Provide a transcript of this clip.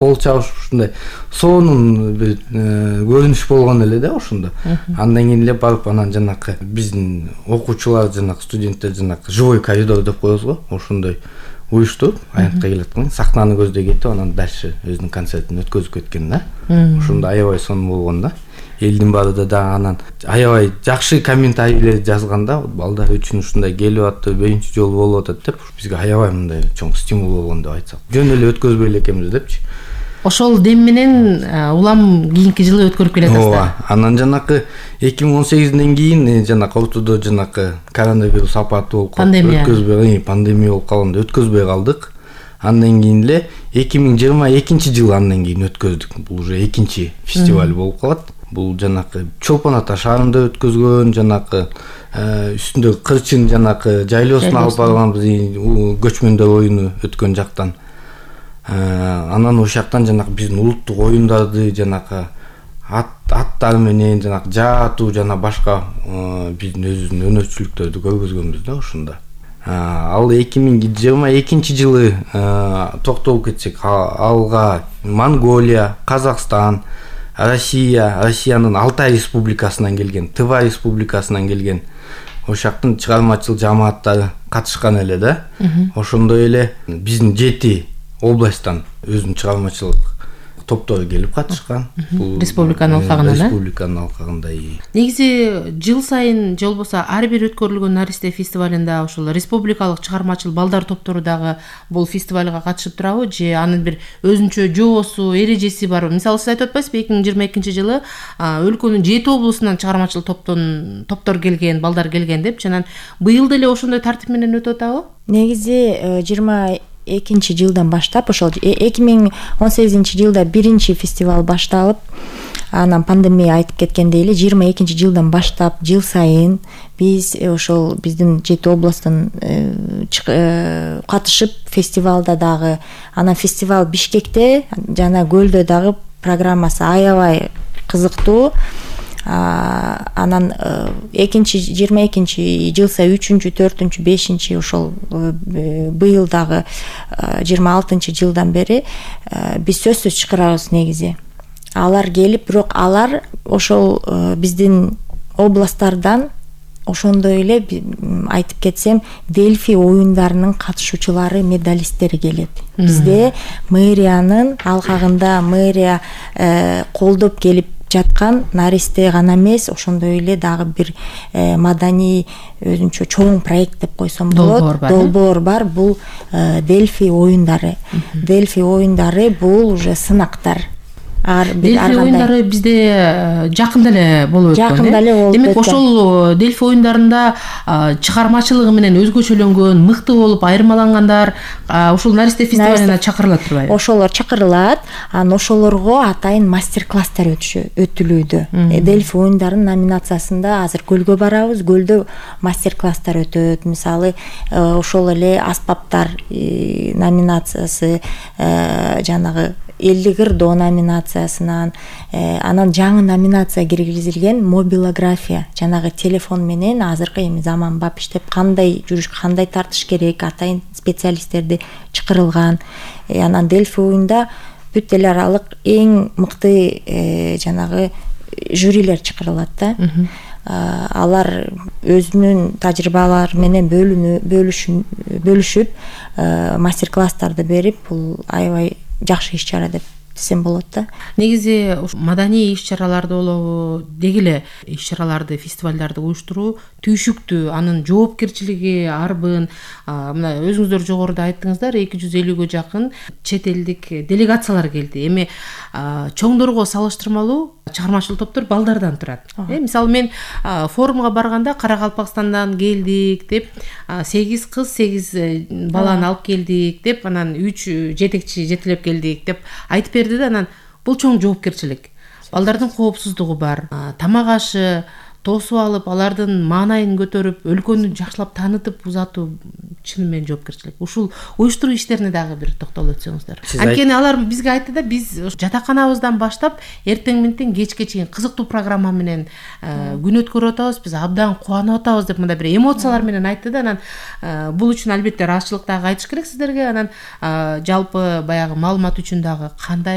кол чабыш ушундай сонун бир көрүнүш болгон эле да ошондо. Андан кийин эле барып анан жанакы биздин окуучулар жанакы студенттер жанакы живой коридор деп коебуз го, ошондой уюштуруп аянтка келаткан, сахнаны көздөй кетип анан дальше өзүнүн концертин өткөзүп кеткен да. Ошондо аябай сонун болгон да. Элдин баары да анан аябай жакшы комментарийлер жазган да. Балдар үчүн ушундай келип атты, биринчи жолу болуп атат деп бизге аябай мындай чоң стимул болгон деп айтсак. Жөн эле өткөзбөй эле экенбиз депчи. Ошол дем менен улам кийинки жылы өткөрүп келатасыздар. Ооба. Анан жанакы 2018ден кийин жанакы ортодо жанакы коронавирус апаты болуп калды. Өткөзбөй, пандемия болуп калганда өткөзбөй калдык. Андан кийин эле 2022 андан кийин өткөздүк. Бул уже экинчи фестиваль болуп калат. Бул жанакы Чолпон Ата шаарында өткөзгөн, жанакы үстүндөгү кырчын жанакы жайлоосуна алып барганбыз, көчмөндөр оюну өткөн жактан. Анан ошол жактан жанакы биздин улуттук оюндарды жанакы аттар менен жанакы жаатуу жана башка биздин өзүбүздүн өнөрчүлүктөрдү көргөзгөнбүз да ошондо. Ал 2022 жылы токтолуп кетсек, алга Монголия, Казакстан, Россиянын Алтай республикасынан келген, Тыва республикасынан келген ошактын чыгармачыл жамааттары катышкан эле да. Ошондой эле биздин 7 областтан өзүнүн чыгармачылык топтору келип катышкан. Республиканын алкагында. Республиканын алкагында. Негизи жыл сайын же болбосо ар бир өткөрүлгөн Наристе фестивалында ошол республикалык чыгармачыл балдар топтору дагы бул фестивалга катышып турабы же анын бир өзүнчө жоосу, эрежеси барбы? Мисалы сиз айтып атпайсызбы, 2022 жылы өлкөнүн 7 облусунан чыгармачыл топтор келген, балдар келген деп, жана быйыл деле ошондой тартип менен өтүп атабы? Негизи 22 жылдан баштап, ошол 2018 жылда биринчи фестиваль башталып, анан пандемия айтып кеткендей эле 22 жылдан баштап жыл сайын биз ошол биздин 7 областтан катышып фестивалда дагы, анан фестиваль Бишкекте жана Көлдө дагы программасы аябай кызыктуу. Анан 22 жылса 3-чү, 4-чү, 5-чи ошол быйыл дагы 26 жылдан бери биз сөзсүз чакырабыз негизи. Алар келип, бирок алар ошол биздин областтардан ошондой эле айтып кетсем Дельфи оюндарынын катышуучулары, медалисттери келет. Бизде мэриянын алкагында мэрия колдоп келип жаткан Наристе гана эмес, ошондой эле дагы бир маданий өзүнчө чоң проект деп койсом болот. Долбоор бар. Бул Дельфи оюндары. Дельфи оюндары бул уже сынактар. Дельфи оюндары бизде жакында эле болуп өткөн. Демек ошол Дельфи оюндарында чыгармачылыгы менен өзгөчөлөнгөн, мыкты болуп айырмалангандар ошол Наристе фестивалына чакырылат турбайбы? Ошолор чакырылат, анан ошолорго атайын мастер-класстар өтүлүүдө. Дельфи оюндарынын номинациясында азыр Көлгө барабыз, Көлдө мастер-класстар өтөт. Мисалы, ошол эле аспаптар номинациясы, жанагы 50 кырдоо номинациясынан, анан жаңы номинация киргизилген мобилография, жанагы телефон менен азыркы эми заманбап иштеп кандай жүрүш, кандай тартыш керек, атайын специалисттерди чакырылган. Анан Дельфи оюнда бүт эл аралык эң мыкты жанагы жюрилер чакырылат да. Алар өзүнүн тажрыйбалары менен бөлүшүп, мастер-класстарды берип, бул аябай жакшы иш-чара деп десем болот да. Негизи маданий иш-чараларды болобу, деги эле иш-чараларды, фестивалдарды уюштуруу түйшүктүү, анын жоопкерчилиги арбын. Мына өзүңүздөр жогоруда айттыңыздар, 250-гө жакын чет элдик делегациялар келди. Эми чоңдорго салыштырмалуу чыгармачыл топтор балдардан турат. Мисалы мен форумга барганда Каракалпакстандан келдик деп, 8 кыз, 8 баланы алып келдик деп, анан 3 жетекчи жетелеп келдик деп айтып берди да. Анан бул чоң жоопкерчилик. Балдардын коопсуздугу бар, тамак ашы тосуп алып, алардын маанайын көтөрүп, өлкөнү жакшылап таанытып узатуу чыны менен жоопкерчилик. Ушул уюштуруу иштерине дагы бир токтолуп өтсөңүздөр. Анткени алар бизге айтты да, биз жатаканабыздан баштап эртең менен кечке чейин кызыктуу программа менен күн өткөрүп атабыз, биз абдан кубанып атабыз деп мындай бир эмоциялар менен айтты да. Анан бул үчүн албетте ыраазычылык дагы айтыш керек сиздерге. Анан жалпы баягы маалымат үчүн дагы кандай